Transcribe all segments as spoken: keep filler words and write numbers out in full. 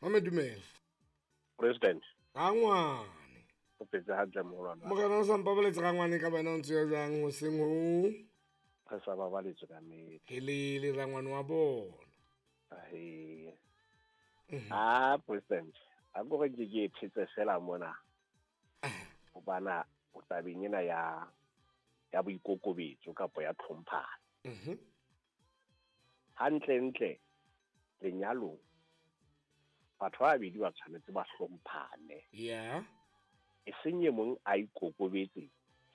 Mame dumela. President. Rangwane. O phetse hantle moholo. Morena o sa mpabaletse rangwane ka bana o ntse ya jwang hoseng ho? Re sa babaletse ka nnete. Helele rangwane wa bona. Ahe. Ah, President. A go re ke ke phetse fela mona. Hobana o tabeng ena ya ya boikokobetso kapa ya tlhomphano. Mhm. Hantle ntle lenyalong batho ba babedi ba tshwanetse ba hlomphane. Yeah. E seng e mong a ikokobetse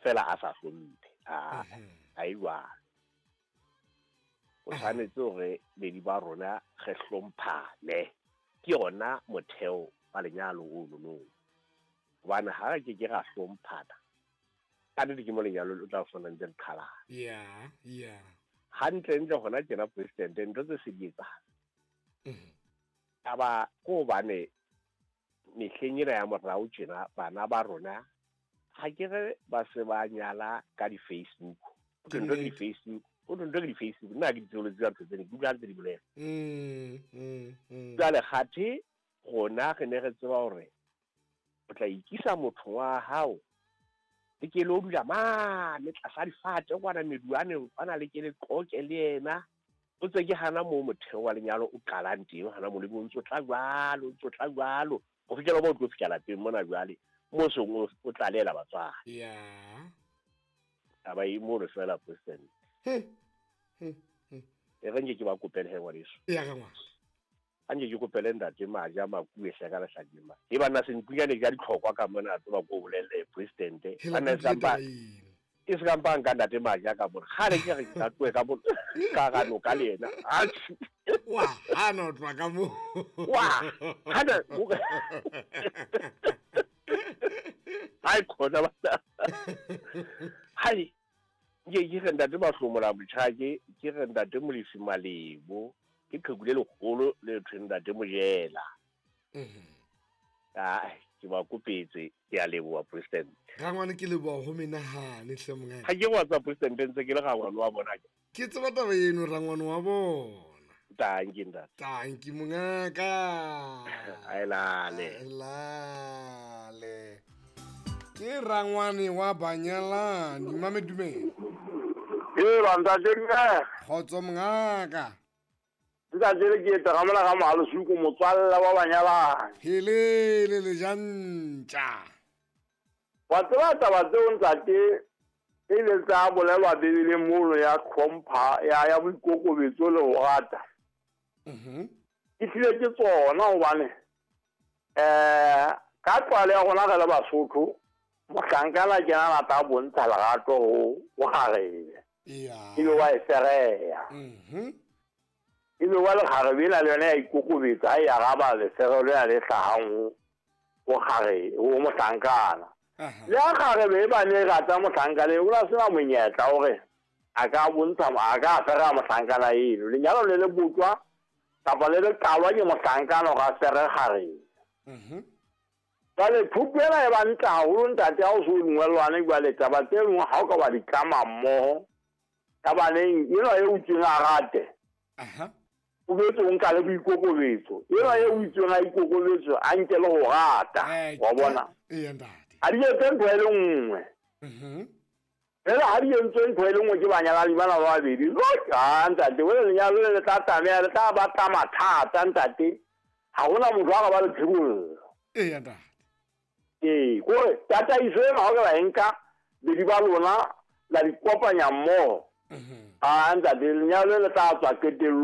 fela a sa hlomphe. Ah, a e jwalo. O tshwanetse hore bedi ba rona re hlomphane. Ke yona motheo wa lenyalo ono no. Hobane ha re ke ke ra hlomphana, ka nnete ke mo lenyalo o tla fumana ntse le qhalana. Yeah, yeah. Hantle ntle hona tjena President, ntho tse se di etsahala. Mhm. Taba ko hobane mehleng ena ya morao tjena bana ba rona ha ke re ba se ba nyala ka di-Facebook. O Ke ntho nnete. di-Facebook, o ntho ke di-Facebook, nna ha ke di tsebe le tseba ntho tsena, ke utlwa ha ntse di bolela. Mm, mm, mm. Jwale kgathe rona re ne re tseba hore o tla ikisa motho wa hao le ke lo dula mane tlasa difate kwana meduane kwana le ke le qoke le yena. O tse ke hana moo motheo wa lenyalo o qalang teng, hana moo le bo ntso tla jwalo, ntso tla jwalo. Ho fihlela ba o tlo fihla lapeng mona jwale, moo seng o, o tlalela batswadi. Yeah. Taba e mono fela, President. Hmm. Hmm. Hmm. E re nke ke ba kopele he ngwaneso. Ya ka ngwana. A nke ke kopele ntate Maja Makuwe hle ka lehlakeng ma. E banna senkunyane ka ditlhokwa ka mona a tseba ko bolelle President. Hela Banna ke se kampa taba eno. e se kampa nka ntate Maja ka mona. Kgale ke re ke tla tlohe ka mona. Ka ga noka le yena. Atjhe. Wa, hana o tloha ka moo. Wa, hana, o re- Hai khona bana. Hai. Ke ke re ntate Mahlomola Motjhake, ke re ntate Molefi Malebo, ke qheku le leholo le thweng ntate Mojela. Mhm. Ai, ke ba kopetse, ke a leboha President. Rangwane ke leboha ho menahane hle mongaka. Ha ke wa tsa President ntse ke le rangwane wa bona ke. Ke tseba taba eno rangwane wa bona. Tanki ntate. Tanki mongaka. Ai lale. Ai lale. Ke rangwane wa banyalani, mame dumela. Ee, ba ntate mme. Kgotso mongaka. Ntate le ke etsa ka mona ka Mohalesuku, motswalla wa banyalani. Helele le jantja. Wa tseba taba tseo ntate e ile tsa bolelwa Bibeleng mono ya tlhompha, ya, ya boikokobetso le ho rata. Mhm. Ke hlile ke tsona hobane, eh, ka tlwaelo ya rona re le Basotho, mohlankana ke yena a rata a bontsha lerato ho, ho kgarebe. Eya. Ebe wa e fereya. Mhm. Ebe wa lekgarebe ena le yona ya ikokobetsa, ha e araba lefereo lena le hlahang ho, ho kgarebe, ho mohlankana. Aha. Le ha kgarebe e bane e rata mohlankana eo, o na sena monyetla hore a ka bontsha, a ka fereya mohlankana eno. Lenyalo le le botjwa kapa le le qalwa ke mohlankana hore a fere kgarebe. Mhm. Jwale thuto ena e ba ntle haholo ntate ha o so dumellwane jwale taba tse nngwe ha o ka wa di tlama mmoho. Tabaneng enwa e utsweng a rate. Aha. O boetse o nka le boikokobetso. Enwa e utsweng a ikokobetso a nke le ho rata. Eh, Wa bona? Eya ntate. Ha di etse ntho e le nngwe. Mhm. Jwale ha di entswe ntho e le nngwe ke banyalani bana ba babedi. Ha ntate, wena lenyalo le le tla tlameha, le tla ba tla mathata ntate. Ha hona motho a ka ba le phirollo. Eya ntate. Ee, kore tataiso ena ha o ka ba e nka, bedi ba lona la di kopanya mmoho. Mhm. Ah, ntate, lenyalo le tla tswa qetellong.